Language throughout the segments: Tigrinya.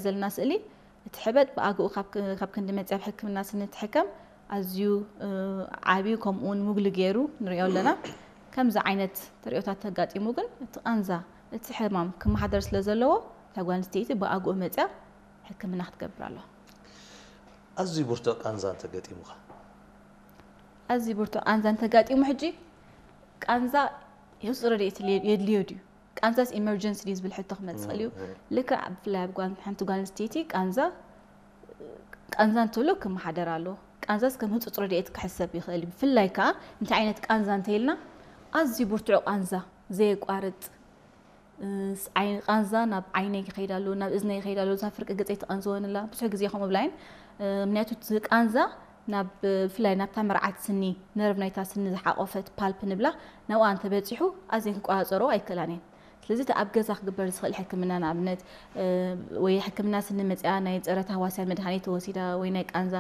ዘለና ስእሊ እቲ ሕበጥ ብኣግኡ ካብ ክንዲ መፅያ ኣብ ሕክምና ስኒ ትሕከም ኣዝዩ ዓብዩ ከምኡውን ሙግሊ ገይሩ ንሪኦ ኣለና። ከምዚ ዓይነት ተሪኦታት ተጋጢሙ ግን እቲ ቃንዛ እቲ ሕማም ክመሓደር ስለ ዘለዎ እታ ጓል ኣንስተይቲ ብኣግኡ መፅያ ሕክምና ክትገብር ኣለዋ። ኣዝዩ ብርቱዕ ቃንዛ እንተገጢሙኻ? ኣዝዩ ብርቱዕ ቃንዛ እንተጋጢሙ ሕጂ ቃንዛ ህፁፅ ረድኤት የድልዮ ድዩ? ቃንዛስ ኢመርጀንሲ ድዩ ዝብል ሕቶ ክመፅእ ይኽእል እዩ። ልክዕ ብፍላይ ኣብ ጓል ሓንቲ ጓል ኣንስተይቲ ቃንዛ ቃንዛ እንተሎ ክመሓደር ኣለዎ። ቃንዛስ ከም ህፁፅ ረድኤት ክሕሰብ ይኽእል እዩ። ብፍላይ ከዓ እንታይ ዓይነት ቃንዛ እንተኢልና ኣዝዩ ብርቱዕ ቃንዛ ዘየቋርጥ ቃንዛ ናብ ዓይነይ ይኸይድ ኣሎ፣ ናብ እዝነይ ይኸይድ ኣሎ፣ እዛ ፍርቂ ገፀይ ትቐንዝወኒ ኣላ። ብዙሕ ግዜ ከምኡ ብላይን ምክንያቱ እቲ ቃንዛ ናብ ብፍላይ ናብታ መርዓት ስኒ ነርቭ ናይታ ስኒ ዝሓቆፈት ፓልፕ ንብላ ናብኣ እንተበፂሑ ኣዝየን ክቆፃፀሮ ኣይክእላን እየን። ስለዚ እቲ ኣብ ገዛ ክግበር ዝኽእል ሕክምና ንኣብነት ወይ ሕክምና ስኒ መፅያ ናይ ፀረ ታህዋስያን መድሃኒት ተወሲዳ ወይ ናይ ቃንዛ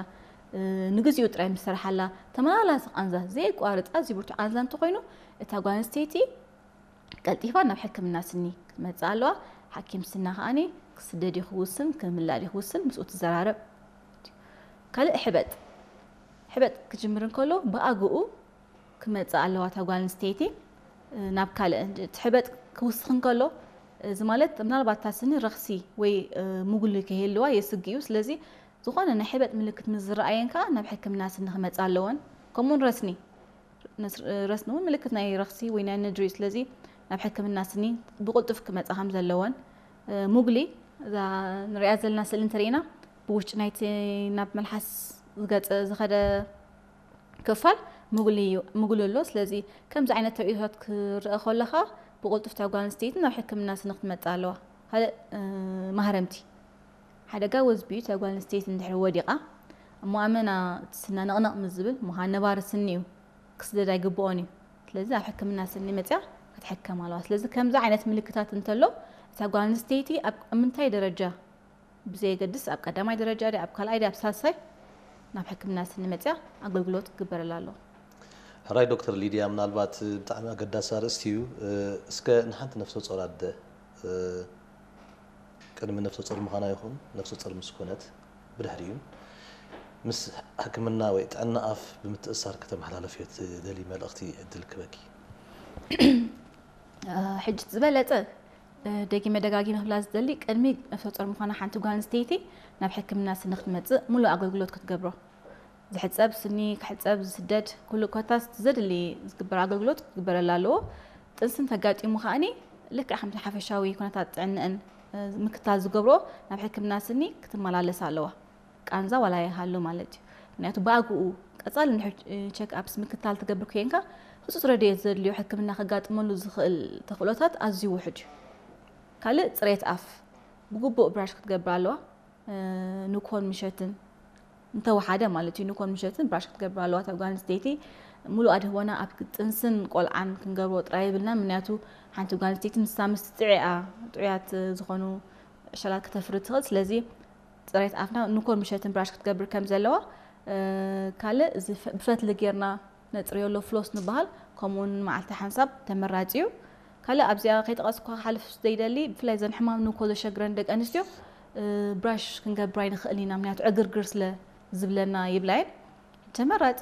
ንግዚኡ ጥራይ ምስ ሰረሓላ ተመላላሲ ቃንዛ ዘየቋርፅ ኣዝዩ ብርቱዕ ቃንዛ እንተኾይኑ እታ ጓል ኣንስተይቲ ቀልጢፋ ናብ ሕክምና ስኒ ክትመፅእ ኣለዋ። ሓኪም ስና ከዓኒ ክስደድ እዩ ክውስን ክምላእ እዩ ክውስን ምስኡ ትዘራረብ። ካልእ ሕበጥ ሕበጥ ክጅምር እንከሎ ብኣግኡ ክመፅእ ኣለዋ እታ ጓል ኣንስተይቲ ናብ ካልእ እቲ ሕበጥ ክውስኽ እንከሎ እዚ ማለት ምናልባት እታ ስኒ ረኽሲ ወይ ሙጉሊ ከይህልዋ የስግ እዩ። ስለዚ ዝኾነ ናይ ሕበጥ ምልክት ምስ ዝረኣየን ከዓ ናብ ሕክምና ስኒ ክመፃ ኣለወን። ከምኡውን ረስኒ ረስኒ እውን ምልክት ናይ ረኽሲ ወይ ናይ ነድሪ እዩ። ስለዚ ናብ ሕክምና ስኒ ብቕልጡፍ ክመፃ ከም ዘለወን ሙግሊ እዛ ንሪኣ ዘለና ስእሊ እንተሪኢና ብውሽጢ ናይቲ ናብ መልሓስ ዝገፀ ዝኸደ ክፋል ሙግሊ እዩ ሙግሊ ኣሎ። ስለዚ ከምዚ ዓይነት ተርእዮታት ክረአ ከለኻ ብቕልጡፍ እታ ጓል ኣንስተይቲ ናብ ሕክምና ስኒ ክትመፅእ ኣለዋ። ካልእ ማህረምቲ ሓደጋ ወዝቢ እዩ። እታ ጓል ኣንስተይቲ እንድሕሪ ወዲቓ እሞ ኣመና እቲ ስና ነቕነቕ ምስ ዝብል ምዃን ነባሪ ስኒ እዩ ክስደድ ኣይግብኦን እዩ። ስለዚ ኣብ ሕክምና ስኒ መፅያ ክትሕከም ኣለዋ። ስለዚ ከምዚ ዓይነት ምልክታት እንተሎ እታ ጓል ኣንስተይቲ ኣብ ምንታይ ደረጃ ብዘየገድስ ኣብ ቀዳማይ ደረጃ ድያ ኣብ ካልኣይ ድያ ኣብ ሳልሳይ ናብ ሕክምና ስኒ መፅያ ኣገልግሎት ክግበረላ ኣለዎ። ሕራይ ዶክተር ሊድያ፣ ምናልባት ብጣዕሚ ኣገዳሲ ኣርእስቲ እዩ። እስከ ንሓንቲ ነፍሰ ጾር ኣደ ቅድሚ ነፍሰ ጾር ምዃና ይኹን ነፍሰ ጾር ምስ ኮነት ብድሕሪኡ ምስ ሕክምና ወይ ጥዕና ኣፍ ብምትእሳር ከተመሓላልፍዮ ትደሊ መልእኽቲ ዕድል ክበኪ። ሕጂ ዝበለጸ ደጊመ ደጋጊመ ክብላ ዝደሊ ቅድሚ ነፍሰ ጾር ምዃና ሓንቲ ጓል ኣንስተይቲ ናብ ሕክምና ስኒ ክትመጽእ ሙሉእ ኣገልግሎት ክትገብሮ ዝሕጸብ ስኒ ክሕጸብ ዝስደድ ኩሉ ኮታስ ዘድሊ ዝግበር ኣገልግሎት ክግበረላ ኣለዎ። ጥንስን ተጋጢሙ ከኣኒ ልክዕ ከምቲ ሓፈሻዊ ኩነታት ጥዕንእን ምክታል ዝገብሮ ናብ ሕክምና ስኒ ክትመላለስ ኣለዋ። ቃንዛ ዋላ ይሃሉ ማለት እዩ። ምክንያቱ ብኣግኡ ቀጻሊ እንድሕር ቸክ ኣፕስ ምክታል ትገብር ኮይንካ ህጹጽ ረድኤት ዘድልዮ ሕክምና ከጋጥመሉ ዝኽእል ተኽእሎታት ኣዝዩ ውሑድ እዩ። ካልእ ጽሬት ኣፍ ብግቡእ ብራሽ ክትገብር ኣለዋ። ንኮን ምሸትን እንተወሓደ ማለት እዩ ንኮን ምሸትን ብራሽ ክትገብር ኣለዋ። እታ ጓል ኣንስተይቲ ሙሉእ ኣድህቦና ኣብ ጥንስን ቆልዓን ክንገብሮ ጥራይ የብልና። ምክንያቱ ሓንቲ ጓል ኣንስተይቲ ንሳ ምስ ጥዕያ ጥዑያት ዝኾኑ ዕሸላት ክተፍሪ ትኽእል። ስለዚ ፅሬት ኣፍና ንኮን ምሸትን ብራሽ ክትገብር ከም ዘለዋ ካልእ ብፈትሊ ጌርና ነፅርዮ ኣሎ ፍሎስ ንበሃል ከምኡውን መዓልቲ ሓንሳብ ተመራፂ እዩ። ካልእ ኣብዚኣ ከይጠቐስኳ ክሓልፍ ዘይደሊ ብፍላይ ዘን ሕማም ንኮ ዘሸግረን ደቂ ኣንስትዮ ብራሽ ክንገብር ኣይንኽእል ኢና ምክንያቱ ዕግርግር ስለ ዝብለና ይብላየን። ተመራፂ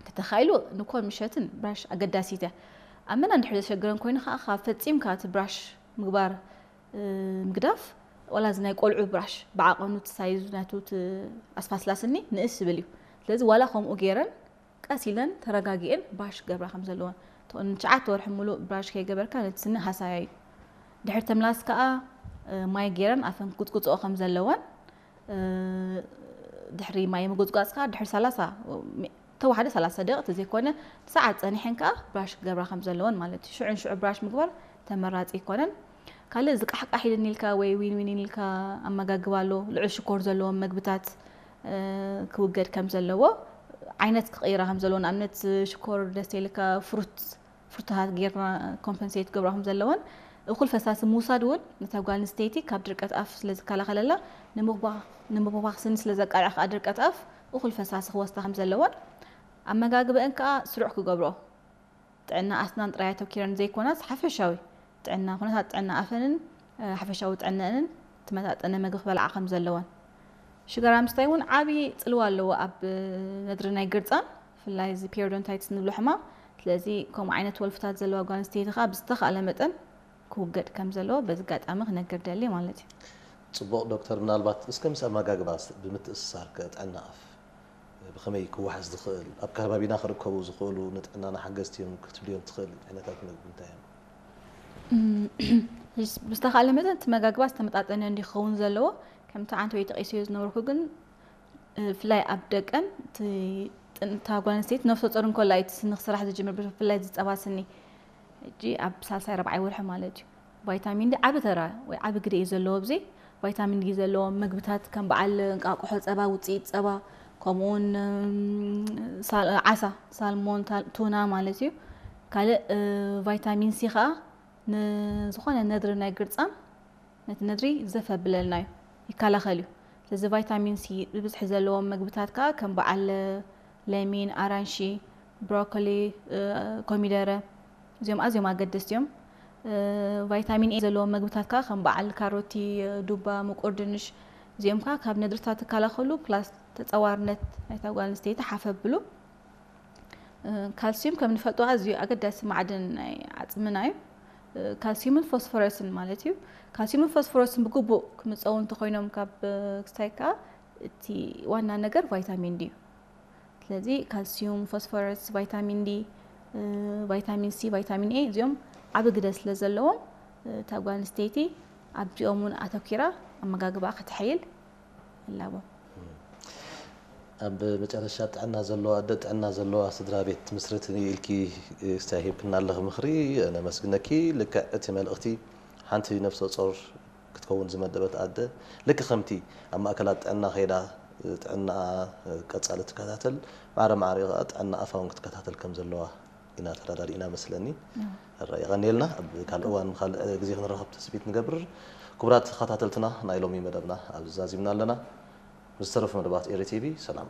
ተተኻኢሉ ንኮን ምሸትን ብራሽ ኣገዳሲት እያ። ኣመና እንድሕር ዘሸግረን ኮይኑ ከዓ ካብ ፈፂምካ እቲ ብራሽ ምግባር ምግዳፍ ዋላ እዚ ናይ ቆልዑ ብራሽ ብዓቐኑ እቲ ሳይዙ ናቱ ኣስፋስላስኒ ንእስ ዝብል እዩ። ስለዚ ዋላ ከምኡ ገይረን ቀስ ኢለን ተረጋጊኤን ብራሽ ክገብራ ከም ዘለወን ትኾን ትሽዓተ ወርሒ ሙሉእ ብራሽ ከይገበርካ ነቲ ስኒ ሃሳያ እዩ። ድሕር ተምላስ ከዓ ማይ ገይረን ኣፈን ክጉፅጉፅኦ ከም ዘለወን ድሕሪ ማይ ምጉፅጓፅ ከዓ ድሕሪ ሰላሳ ተዋሓደ ሰላሳ ደቂቕ ተዘይኮነ ሰዓት ፀኒሐን ከዓ ብራሽ ክገብራ ከም ዘለወን ማለት እዩ። ሽዑን ሽዑ ብራሽ ምግባር ተመራፂ ኣይኮነን። ካልእ እዚ ቃሕቃሕ ኢልኒ ኢልካ ወይ ዊን ዊን ኢልካ ኣመጋግባ ኣሎ ልዑል ሽኮር ዘለዎም መግብታት ክውገድ ከም ዘለዎ ዓይነት ክቕይራ ከም ዘለዎ ንኣብነት ሽኮር ደስ ኢልካ ፍሩት ፍርቱሃት ጌርና ኮምፐንሴት ክገብራ ከም ዘለወን እኹል ፈሳሲ ምውሳድ እውን ነታ ጓል ኣንስተይቲ ካብ ድርቀት ኣፍ ስለ ዝከላኸለላ ንምብባኽ ስኒ ስለ ዘቃልዕ ከዓ ድርቀት ኣፍ እኹል ፈሳሲ ክወስዳ ከም ዘለወን ኣመጋግበአን ከዓ ስሩዕ ክገብሮ ጥዕና ኣስናን ጥራይ ኣተኪረን ዘይኮናስ ሓፈሻዊ ጥዕና ኩነታት ጥዕና ኣፈንን ሓፈሻዊ ጥዕነአንን ተመጣጠነ ምግቢ ክበልዓ ከም ዘለወን። ሽጋራ ምስታይ እውን ዓብዪ ፅልዋ ኣለዎ ኣብ ነድሪ ናይ ግርፃን፣ ብፍላይ እዚ ፔሪዶንታይትስ ንብሎ ሕማም። ስለዚ ከምኡ ዓይነት ወልፍታት ዘለዋ ጓል ኣንስተይቲ ከዓ ብዝተኻእለ መጠን ክውገድ ከም ዘለዎ በዚ ኣጋጣሚ ክነግር ደሊ ማለት እዩ። ፅቡቕ ዶክተር፣ ምናልባት እስከ ምስ ኣመጋግባ ብምትእስሳር ከ ጥዕና ኣፍ ብኸመይ ክወሓስ ዝኽእል፣ ኣብ ከባቢና ክርከቡ ዝኽእሉ ንጥዕናና ሓገዝቲ እዮም ክትብልዮም ትኽእል ዓይነታት ምግቢ እንታይ እዮም? ብዝተኻእለ መጠን እቲ መጋግባ ዝተመጣጠነ እንዲ ክኸውን ዘለዎ። ከምቲ ዓንተ ወይ ተቂስዮ ዝነበርኩ ግን ብፍላይ ኣብ ደቀን እታ ጓል ኣንስተይቲ ነፍሰ ጾር እንኮላ እዩ እቲ ስኒ ክስራሕ ዝጅምር፣ ብፍላይ ዝፀባ ስኒ። ሕጂ ኣብ ሳልሳይ ረብዓይ ወርሒ ማለት እዩ። ቫይታሚን ዲ ዓቢ ተራ ወይ ዓቢ ግደ እዩ ዘለዎ ኣብዚ። ቫይታሚን ዲ ዘለዎም ምግብታት ከም በዓል እንቃቁሖ፣ ፀባ፣ ውፅኢት ፀባ፣ ከምኡውን ዓሳ፣ ሳልሞን፣ ቱና ማለት እዩ። ካልእ ቫይታሚን ሲ ከዓ ንዝኾነ ነድሪ ናይ ግርፃን ነቲ ነድሪ ዘፍ ኣብለልና እዩ፣ ይከላኸል እዩ። ስለዚ ቫይታሚን ሲ ብብዝሒ ዘለዎም ምግብታት ከዓ ከም በዓል ለሚን፣ ኣራንሺ፣ ብሮኮሊ፣ ኮሚደረ፣ እዚኦም ኣዝዮም ኣገደስቲ እዮም። ቫይታሚን ኤ ዘለዎም ምግብታት ከዓ ከም በዓል ካሮቲ፣ ዱባ፣ ምቁር ድንሽ፣ እዚኦም ከዓ ካብ ነድርታት ይከላኸሉ። ፕላስ ተፀዋርነት ናይታ ጓል ኣንስተይቲ ሓፍ ኣብሉ። ካልሲዩም ከም ንፈልጦ ኣዝዩ ኣገዳሲ ማዕድን ናይ ዓፅምና እዩ። ካልሲዩምን ፎስፎረስን ማለት እዩ። ካልሲዩምን ፎስፎረስን ብግቡእ ክምፀው እንተኮይኖም ካብ ክስታይ ከዓ እቲ ዋና ነገር ቫይታሚን ዲ እዩ። ስለዚ ካልሲዩም፣ ፎስፎረስ፣ ቫይታሚን ዲ፣ ቫይታሚን ሲ፣ ቫይታሚን ኤ እዚኦም ዓቢ ግደ ስለ ዘለዎም እታ ጓል ኣንስተይቲ ኣብዚኦም እውን ኣተኪራ ኣመጋግባ ከተሐይል እላቦ። ኣብ መጨረሻ ጥዕና ዘለዋ ኣደ ጥዕና ዘለዋ ስድራ ቤት ትምስርት ኢልኪ ስታይ ሂብክና ኣለኺ ምኽሪ፣ ነመስግነኪ። ልክዕ እቲ መልእኽቲ ሓንቲ ነፍሰ ጾር ክትከውን ዝመደበት ኣደ ልክ ከምቲ ኣብ ማእከላት ጥዕና ከይዳ ጥዕና ቀጻሊ ትከታተል፣ ማዕረ ማዕረ ከኣ ጥዕና ኣፋ እውን ክትከታተል ከም ዘለዋ ኢና ተረዳዲእና መስለኒ። ሕራይ የቐንየልና። ኣብ ካልእ እዋን ካልእ ግዜ ክንራኸብ ተስፊት ንገብር። ክቡራት ተኸታተልትና ናይ ሎሚ መደብና ኣብዚ ዛዚምና ኣለና። ምስ ዝተረፉ መደባት ኤሪ ቲቪ ሰላም።